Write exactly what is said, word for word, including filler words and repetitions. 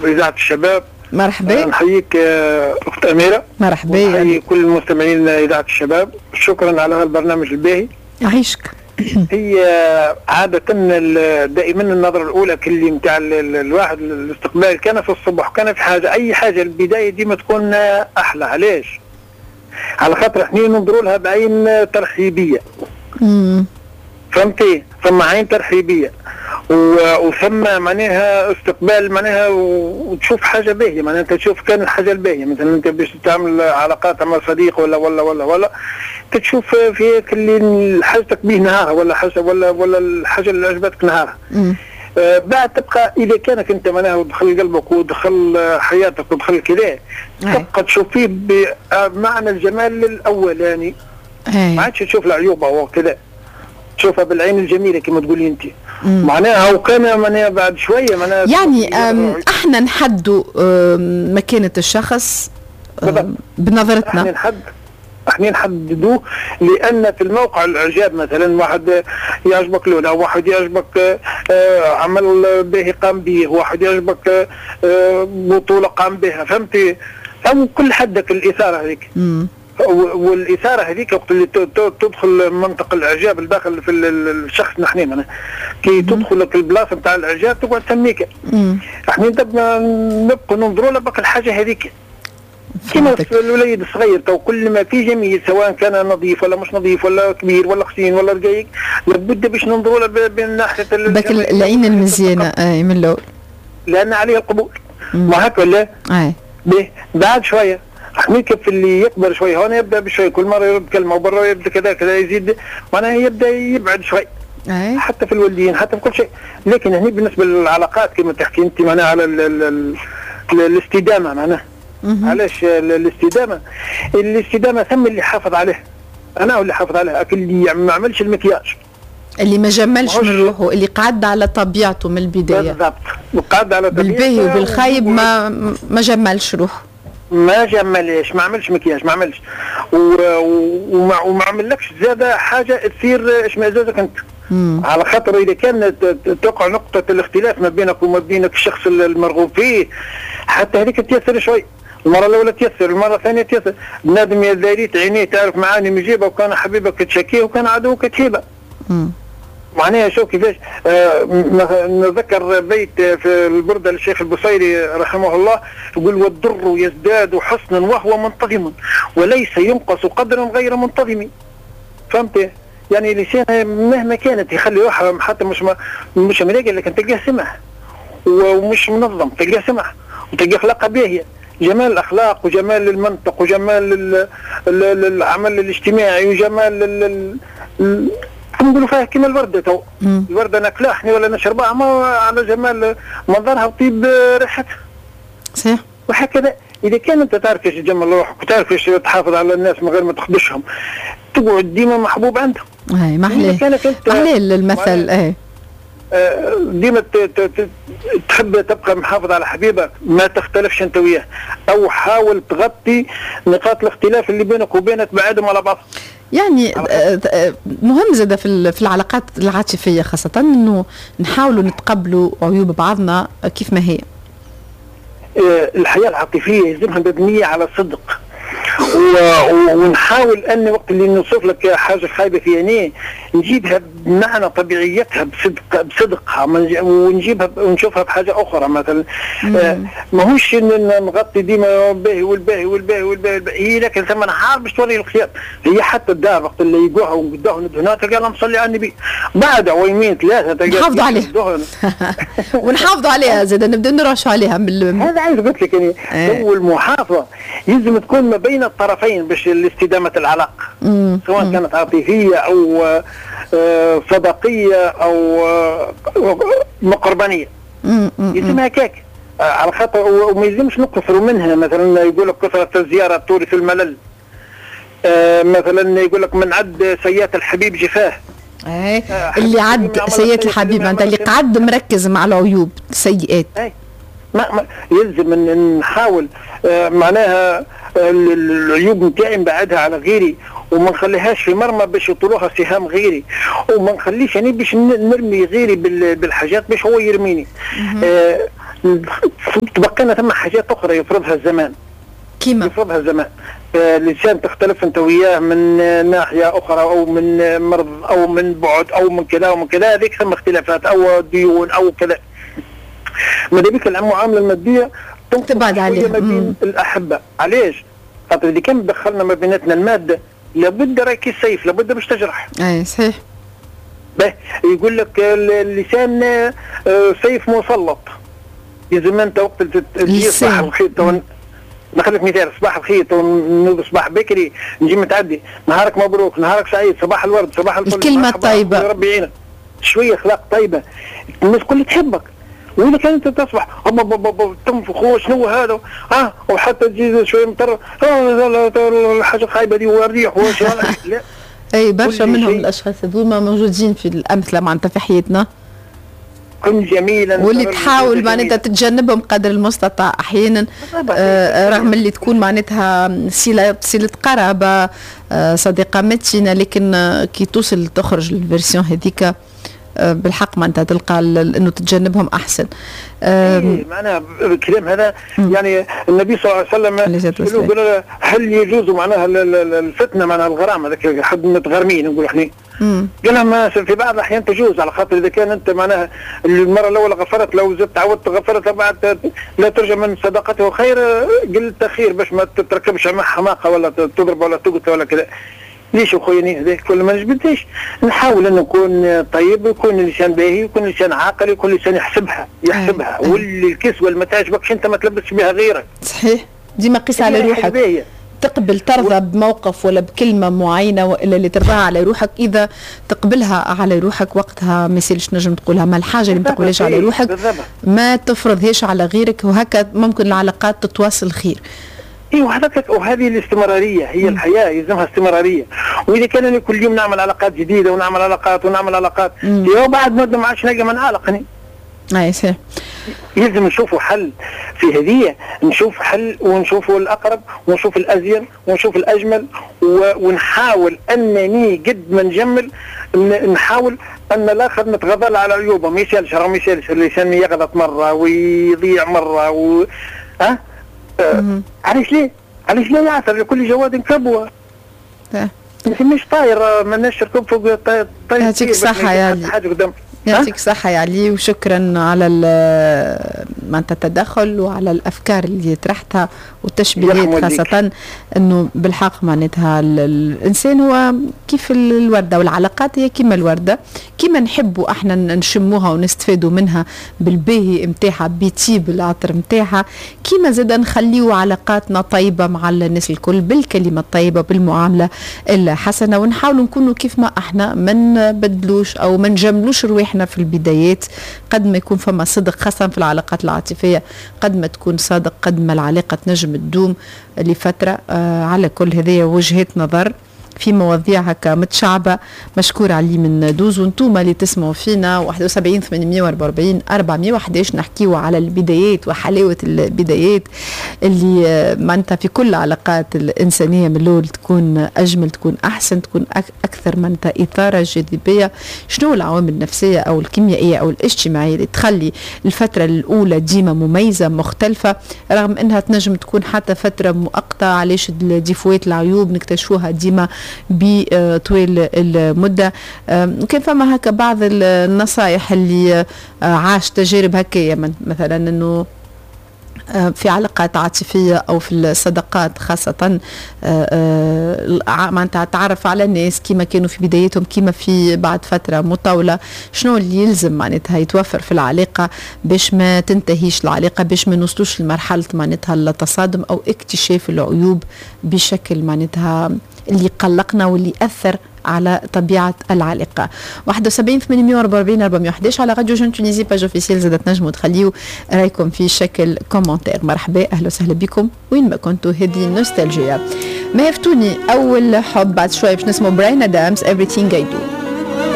إذاعة الشباب. مرحبا. نحييك أخت أميرة. مرحبا. نحيي كل المستمعين إذاعة الشباب، شكرا على هذا البرنامج الباهي. يعيشك. هي عادة دائما النظرة الأولى كل نتاع الواحد الاستقبال كان في الصبح كان في حاجة، أي حاجة البداية ديما تكون أحلى. علاش؟ على خاطر احنا ننظروا لها بعين ترحيبية. امم فهمتي؟ ثم عين ترحيبية وثم معناها استقبال، معناها وتشوف حاجة باهية، معناها انت تشوف كان الحاجة الباهية. مثلا انت باش تعمل علاقات مع صديق ولا ولا ولا ولا تشوف في اللي حاجتك به نهارها ولا حاجة ولا ولا الحاجة اللي عجبتك نهارها. آه بعد تبقى اذا كانك انت معناها ودخل قلبك ودخل حياتك ودخل كذا تبقى تشوف فيه بمعنى الجمال الاولاني، ما عادش تشوف العيوب او كذا، تشوفها بالعين الجميلة كما تقولي انت. معناها وكان معناها بعد شوية معناها يعني احنا نحدوا مكانه الشخص بنظرتنا. احنا نحد احنا نحددوه، لان في الموقع الاعجاب مثلا واحد يعجبك لونه، واحد يعجبك عمل به قام به، واحد يعجبك بطوله قام بها، فهمتي؟ او كل حدك الاثارة هذيك. والاثارة هذيك وقت اللي تدخل منطق الاعجاب الداخل في الشخص، نحن معناها كي تدخل لك البلاصة نتاع الاعجاب تقعد تسميك. احنا نبقوا ننظروا لبقى الحاجة هذيك كما الوليد الصغير تو كل ما في جميل، سواء كان نظيف ولا مش نظيف ولا كبير ولا خشين ولا رقيق، لابد باش ننظروا له من ناحية بك العين المزيانه اي من الاول، لان عليه القبول. ما هكا ولا؟ اي بعد شوية حنيك في اللي يكبر شوية هون يبدا بشوية، كل مرة يرد كلمة وبرا يبدا كذا كذا يزيد، معناها يبدا يبعد شوي. أي. حتى في الوالدين حتى في كل شيء. لكن هنا بالنسبة للعلاقات كما تحكي انت معناها على ال ال ال الاستدامة، معناها علاش الاستدامة؟ الاستدامة ثم اللي حافظ عليه، انا هو اللي حافظ عليه، اللي ما عملش المكياج، اللي ما جملش من روحه، اللي قعد على طبيعته من البداية. بالضبط، وقعد على طبيعته بالباهي وبالخايب، ما ما جملش روحه، ما جملش، ما عملش مكياج، ما عملش وما وما عملكش زاده حاجة تصير اشمئزازك انت. مم. على خاطر اذا كان تقع نقطة الاختلاف ما بينك وما بينك الشخص المرغوب فيه، حتى هذيك تيسر شوي، المرة الاولى تيسر، المرة الثانية تيسر. بنادم يا داريت عينيه تعرف معاني مجيبه، وكان حبيبك تشكيه وكان عدوك تهيبه. معناها شوف كيفاش. آه نذكر بيت في البردة للشيخ البصيري رحمه الله، يقول: والضر يزداد حسنا وهو منتظم، وليس ينقص قدرا غير منتظم. فهمت؟ يعني لسان مهما كانت يخلي روحه حتى مش مش ملاقي، لكن تلقاه سمح ومش منظم، تلقاه سمح وتلقاه اخلاقه باهيه. جمال الاخلاق وجمال المنطق وجمال ال ال العمل الاجتماعي وجمال ال ال نقولوا فيها كيما الورده تو. الورده ناكلها احنا ولا نشربها، ما على جمال منظرها وطيب ريحتها. صحيح. وهكذا اذا كان انت تعرف كيفاش تجمل روحك وتعرف كيفاش تحافظ على الناس من غير ما تخدشهم، تقعد ديما محبوب عندهم. اي ما احلاه ما المثل. اي ديما تحب تبقى محافظ على حبيبك، ما تختلفش انت وياه، او حاول تغطي نقاط الاختلاف اللي بينك وبينه، تبعدهم على بعض. يعني مهم زاد في العلاقات العاطفية خاصة انه نحاولوا نتقبلوا عيوب بعضنا كيف ما هي. الحياة العاطفية يلزمها مبنية على الصدق، ونحاول ان وقت اللي نوصف لك حاجة خايبة في عينيه نجيبها بمعنى طبيعيتها بصدق بصدقها، ونجيبها ونشوفها بحاجة اخرى مثلا. آه ماهوش نغطي ديما باهي والباهي والباهي والباهي، لكن ثم نهار باش توري الخيار. هي حتى الدار وقت اللي يقوها وقداها ندهنها تلقى اللهم صلي على النبي، بعد عويمين ثلاثة تلقى نحافظوا عليها ونحافظوا عليها زاد نبدا نرشوا عليها من هذا. عايز قلت لك يعني هو المحافظة يلزم تكون ما بين الطرفين باش الاستدامة العلاقة، سواء كانت عاطفية أو صداقية أو مقربانية، يلزمها هكاك على خاطر وما يلزمش نقصروا منها. مثلا يقول لك كثرة الزيارة تورث الملل، مثلا يقول لك من عد سيئات الحبيب جفاه. اي اللي عد سيئات الحبيب معناتها اللي قعد مركز مع العيوب السيئات. اي ما, ما يلزم ان نحاول آه معناها العيوب نتاعي نبعدها على غيري، وما نخليهاش في مرمى باش يطلوها سهام غيري، وما نخليش يعني باش نرمي غيري بالحاجات باش هو يرميني. آه تبقينا ثم حاجات اخرى يفرضها الزمان. كيما يفرضها الزمان، الانسان تختلف انت وياه من ناحية اخرى او من مرض او من بعد او من كذا ومن كذا، هذيك ثم اختلافات او ديون او كذا. ماذا بك المعاملة المادية تبعد عليها ما بين الاحبة. علاش؟ خاطر اذا كان دخلنا ما بيناتنا المادة لابد راك السيف، لابد باش تجرح. اي صحيح. به يقول لك اللسان سيف مسلط، لازم انت وقت تجي صباح الخير، ناخذ لك مثال، صباح الخير نوض صباح بكري نجي متعدي، نهارك مبروك، نهارك سعيد، صباح الورد، صباح الفل، الكلمة الطيبة، ربي يعينك، شوية اخلاق طيبة، الناس كلها تحبك. واذا كان انت تصبح تنفخ شنو هذا، اه وحتى تجي شوية مطر، الحاجة الخايبة دي والريح. لا اي برشا منهم الاشخاص هذوما موجودين في الامثلة معناتها في حياتنا. كن جميلا واللي تحاول معناتها تتجنبهم قدر المستطاع احيانا، آه رغم اللي تكون معناتها صله صله قرابة، آه صديقه متينة، لكن آه كي توصل تخرج ال version هذيك آه بالحق معناتها تلقى انه تتجنبهم احسن. إيه معناها الكلام هذا يعني النبي صلى الله عليه وسلم قالوا هل يجوز معناها الفتنة معناها الغرام هذاك حد متغرمين نقولوا احنا، قال لهم في بعض الاحيان تجوز، على خاطر اذا كان انت معناها المرة الاولى غفرت، لو زدت عودت غفرت بعد لا ترجى من صداقته خير، قلت خير باش ما تتركبش مع حماقه ولا تضرب ولا تقتل ولا كذا. ليش اخويا هذاك كل ما نجبدش؟ نحاول ان نكون طيب، ويكون الانسان باهي، يكون الانسان عاقل، يكون الانسان يحسبها يحسبها، واللي الكسوة اللي ما تعجبكش انت ما تلبسش بها غيرك. صحيح، ديما قيس على روحك، تقبل ترضى بموقف ولا بكلمه معينة والا اللي ترضاها على روحك، اذا تقبلها على روحك وقتها ما يسالش نجم تقولها، ما الحاجة اللي ما تقبلهاش على روحك ما تفرضهاش على غيرك، وهكا ممكن العلاقات تتواصل خير. ايوه هذاك، وهذه الاستمرارية هي الحياة يلزمها استمرارية. واذا كان انا كل يوم نعمل علاقات جديدة ونعمل علاقات ونعمل علاقات، يوم بعد مده ما عادش نلقى من عالقني. اي صحيح. يلزم نشوفوا حل في هذه، نشوف حل ونشوفوا الاقرب ونشوف الازين ونشوف الاجمل، ونحاول انني قد ما نجمل نحاول ان الاخر نتغاضى على عيوبه، ما يسالش، راه ما يسالش الانسان يغلط مرة ويضيع مرة و ها أه. علاش ليه؟ علاش لا يعثر لكل جواد كبوة؟ مش طاير، ماناش ركوب فوق طاير. يعطيك الصحة يا علي، يعطيك الصحة يا علي، وشكرا على معناتها التدخل وعلى الأفكار اللي طرحتها والتشبيهات، خاصة أنه بالحق معناتها الإنسان هو كيف الوردة، والعلاقات هي كيما الوردة، كيما نحبوا احنا نشموها ونستفادوا منها بالباهي نتاعها بطيب العطر نتاعها، كيما زاد نخليو علاقاتنا طيبة مع الناس الكل بالكلمة الطيبة بالمعاملة الحسنة، ونحاولوا نكونوا كيف ما احنا، ما نبدلوش أو ما نجملوش رواحنا في البدايات. قد ما يكون فما صدق خاصة في العلاقات العاطفية، قد ما تكون صادق قد ما العلاقة تنجم تدوم لفترة. آه على كل هذه وجهات نظر في مواضيع هكا متشعبة. مشكور علي من دوز، وانتوما اللي تسمعوا فينا واحد وسبعين ثمانمية وأربعة وأربعين أربعمية وأحداش، نحكيو على البدايات وحلاوة البدايات اللي معناتها في كل العلاقات الإنسانية من الأول تكون أجمل، تكون أحسن، تكون أكثر معناتها إثارة جاذبية. شنو العوامل النفسية أو الكيميائية أو الاجتماعية اللي تخلي الفترة الأولى ديما مميزة مختلفة، رغم أنها تنجم تكون حتى فترة مؤقتة؟ علاش الديفوات العيوب نكتشفوها ديما بطويل المدة؟ كان فما هكا بعض النصائح اللي عاش تجارب هكايا، مثلا انه في علاقات عاطفية أو في الصداقات خاصة، معناتها تعرف على الناس كما كانوا في بدايتهم كما في بعد فترة مطولة، شنو اللي يلزم معناتها يتوفر في العلاقة باش ما تنتهيش العلاقة، باش ما نوصلوش لمرحلة معناتها التصادم أو اكتشاف العيوب بشكل معناتها اللي قلقنا واللي أثر على طبيعة العلاقة. واحد وسبعين ثمانمية وأربعة وأربعين أربعمية وأحداش على راديو Jeune Tunisie page officielle، زادت نجموا تخليو رايكم في شكل commentaire. مرحبا، أهلا وسهلا بكم وين ما كنتوا. هذه نوستالجيا ما يفتوني أول حب، بعد شوية باش نسمعوا براين أدامز Everything I Do.